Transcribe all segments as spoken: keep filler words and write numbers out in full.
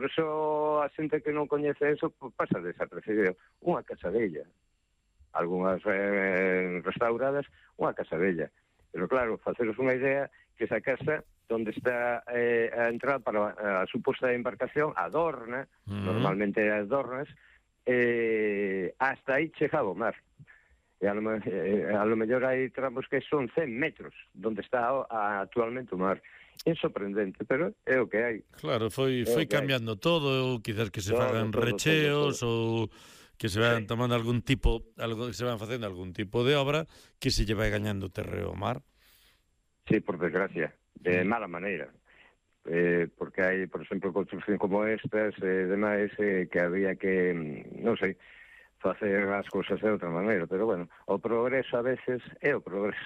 Por eso a xente que non coñece eso pues, pasa desapercibido. Unha casa bella. Algúnas eh, restauradas, unha casa bella. Pero claro, faceros unha idea que esa casa donde está eh, a entrada para a, a suposta embarcación, adorna, uh-huh. normalmente adornas, eh, hasta aí chegaba o mar. E a lo, eh, a lo mellor hai tramos que son cen metros donde está o, a, actualmente o mar. É sorprendente, pero é o que hai. Claro, foi foi cambiando hai. todo, quizás que se todo, fagan todo, recheos todo, todo. ou que se van sí. tomando algún tipo, algo que se van facendo algún tipo de obra que se lle vai gañando terreo ao mar. Sí, por desgracia, de mala maneira. Eh, porque hai, por exemplo, construcción como estas e eh, demais eh, que había que, non sei, facer as cousas de outra maneira, pero bueno, o progreso a veces é o progreso.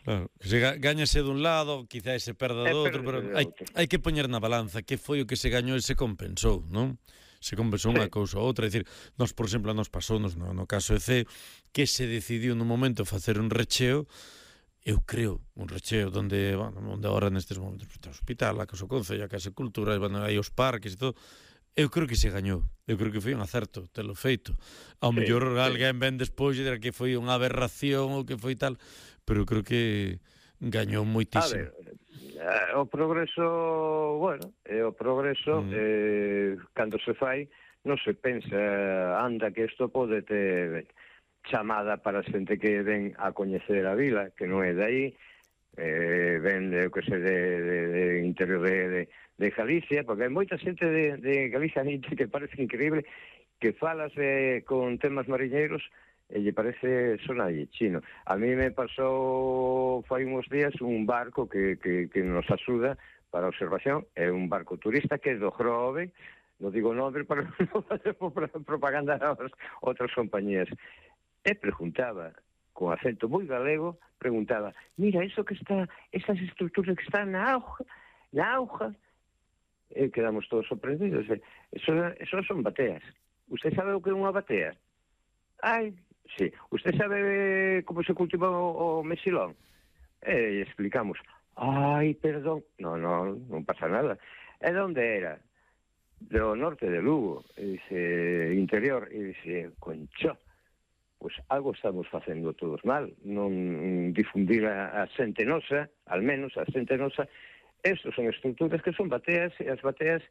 Claro, que se gañase dun lado, quizás se perda do outro, pero hai, hai que poñer na balanza que foi o que se gañou e se compensou, non? Se compensou unha cousa ou outra, é dicir, nos, por exemplo, nos pasou no, no caso de C, que se decidiu nun momento facer un recheo, eu creo, un recheo donde, bueno, onde agora nestes momentos está o hospital, a Casa Concello, a Casa de Cultura, bueno, aí os parques e todo. Eu creo que se gañou, eu creo que foi un acerto telo feito. Ao sí, mellor sí. alguén ven despois e dirá que foi unha aberración ou que foi tal, pero creo que gañou moitísimo. A ver, o progreso, bueno, é o progreso, mm. eh, cando se fai, non se pensa, anda que isto pode ter chamada para a xente que ven a coñecer a vila, que non é dai, eh, ven, eu que sei, de, de, de interior de... de de Galicia, porque hai moita xente de, de Galicia que parece increíble que falas eh, con temas mariñeiros e lle parece sonalle chino. A mí me pasou fai uns días un barco que, que, que nos axuda para a observación, é un barco turista que é do Grove, non digo nombre para non facer propaganda a outras compañías, e preguntaba con acento moi galego, preguntaba, mira, eso que está, esas estructuras que están na auga, na auga, e quedamos todos sorprendidos. Eso, eso son bateas. Usted sabe o que é unha batea? Ai, sí. Usted sabe como se cultiva o, o mesilón? E explicamos. Ai, perdón. No, no, non pasa nada. E onde era? Do norte de Lugo. E dice, interior. E dice, concho, pois pues algo estamos facendo todos mal. Non difundir a, a xente nosa, al menos a xente nosa. Estos son estructuras que son bateas, e as bateas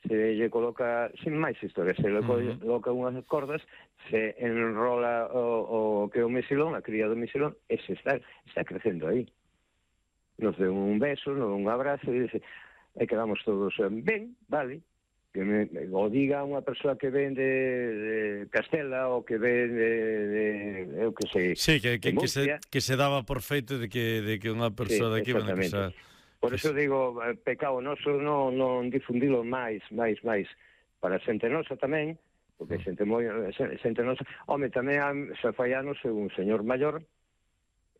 se lle coloca, sin máis historia, se lle uh-huh. coloca unhas cordas, se enrola o, o que é o mesilón, a cría do mesilón, e se está, está crecendo aí. Nos deu un beso, nos un abrazo, e dice, e quedamos todos ben, vale, que me, o diga unha persoa que ven de, de Castela ou que ven de, de eu que sei, sí, que, que, que, se, que se daba por feito de que, de que unha persoa sí, de aquí ven a casa... Por eso digo, pecado noso non, non difundilo máis, máis, máis para a xente nosa tamén, porque xente moi xente nosa, home, tamén xa fai anos un señor maior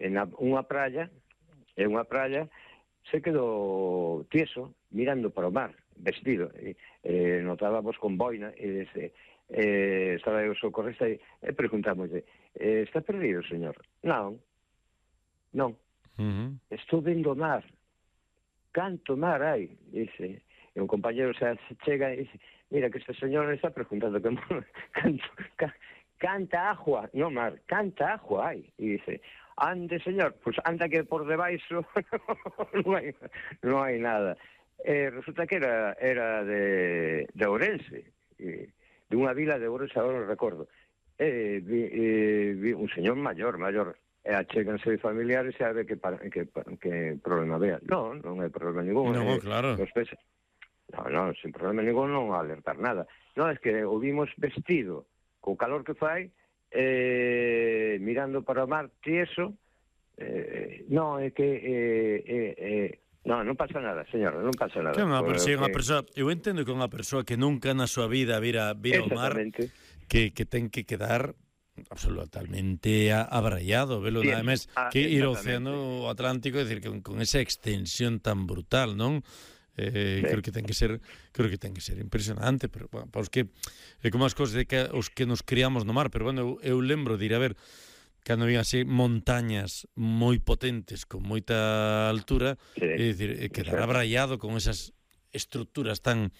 en a, unha praia, en unha praia se quedou tieso mirando para o mar, vestido, e, e notábamos con boina e dese, eh, estaba o socorrista e, e preguntámoslle, eh, está perdido, señor? Non, non, uh-huh. estou vendo o mar. Canto mar hai, dice, e un compañero se chega e dice, mira que este señor está preguntando que canto, ca, canta agua, no mar, canta agua hai, e dice, ande señor, pues anda que por debaixo non hai, non hai nada. E resulta que era, era de, de Ourense, e, de unha vila de Ourense, agora non recordo, e vi, e, vi un señor maior, maior, e achéganse familiares e a ver que, que, que problema vea. Non, non hai problema ningún. Non, eh, claro. Pes... No, no, sin problema ningún, non alertar nada. Non, é que o vimos vestido, co calor que fai, eh, mirando para o mar, tieso, eh, non, é que... Eh, eh, eh, non, non pasa nada, señor, non pasa nada. Que unha persoa, que... persoa, eu entendo que unha persoa que nunca na súa vida vira, vira o mar, que, que ten que quedar... absolutamente abraiado, velo, sí, nada máis que ir ao océano Atlántico, é dicir, que con, con esa extensión tan brutal, non? Eh, sí. creo que ten que ser, creo que ten que ser impresionante, pero bueno, para os que é como as cousas de que os que nos criamos no mar, pero bueno, eu, eu lembro de ir a ver cando había así montañas moi potentes con moita altura, sí, é dicir, quedar abraiado con esas estructuras tan